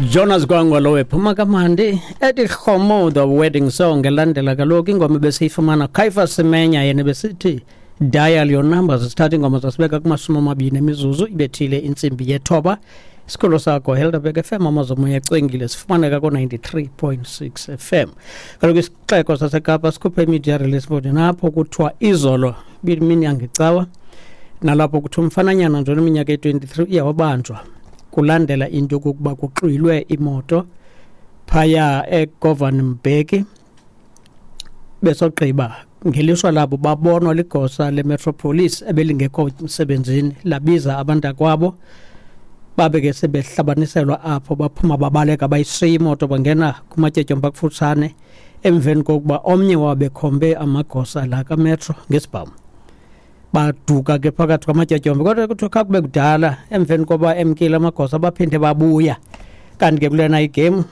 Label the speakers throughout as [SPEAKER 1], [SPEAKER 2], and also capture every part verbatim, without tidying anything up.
[SPEAKER 1] Jonas Gwangwa lo ephuma kamandi ethi Khomo the wedding song elandela kaloku ingoma besiyifumana Caiphus Semenya yena besithi dial your numbers. Sithatha ingoma zasibeka kumashumi amabini emizuzu ibethile intsimbi yethoba. Isikolo sakho Helderberg F M amazomoya ecwengile sifumaneka ko-ninety-three point six F M. Kaloku isixeko saseKapa sikhuphe media release board napho kuthiwa izolo ibimini yangecawa nalapho kuthiwa umfananyana nje oneminyaka eyi-twenty-three uye wabanjwa kulandela into yokokuba kuxwilwe imoto phaya eGovan Mbeki. Besogqiba ngelishwa labo babonwa ligosa leMetropolis ebelingekho emsebenzini labiza abantakwabo babe ke sebehlabaniselwa apho baphuma babaleka bayishiya imoto bangena kumatyetyombe akufutshane emveni kokuba omnye wabo ekhombe amagosa la kaMetro ngesibhamu. Baduka ke phakathi kwamatyetyombe kodwa kuthiwa khakube kudala emveni koba emkile amagosa baphinde babuya. Kanti ke kulena igame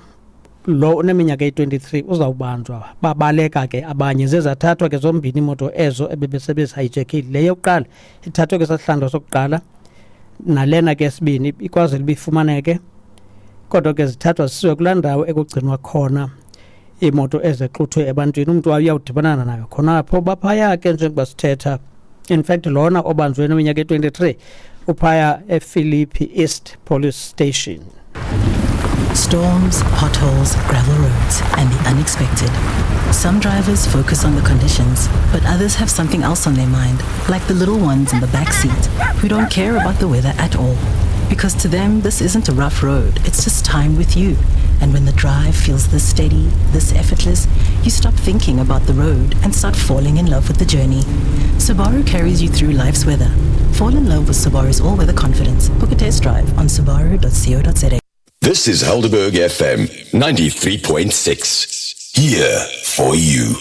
[SPEAKER 1] lo uneminyaka eyi-twenty-three uzawubanjwa. Babaleka ke abanye zezathathwa ke zombini imoto ezo ebebesebezihijekile. Le yokuqala ithathwe ke sasihlandlo sokuqala nalena ke sibini ikwazile uba ifumaneke kodwa ke zithathwa zisiwe kulaa ndawo ekugcinwa khona iimoto ezexuthwe ebantwini umntu uyawudibana nayo khona apho. Baphaya ke njengoba sithetha, in fact lona obanjwe neminyaka eyi-twenty-three uphaya ePhilippi East Police Station.
[SPEAKER 2] Storms, potholes, gravel roads, and the unexpected. Some drivers focus on the conditions, but others have something else on their mind, like the little ones in the back seat who don't care about the weather at all. Because to them, this isn't a rough road, it's just time with you. And when the drive feels this steady, this effortless, you stop thinking about the road and start falling in love with the journey. Subaru carries you through life's weather. Fall in love with Subaru's all-weather confidence. Book a test drive on subaru dot co dot za.
[SPEAKER 3] This is Helderberg F M ninety-three point six. Here for you.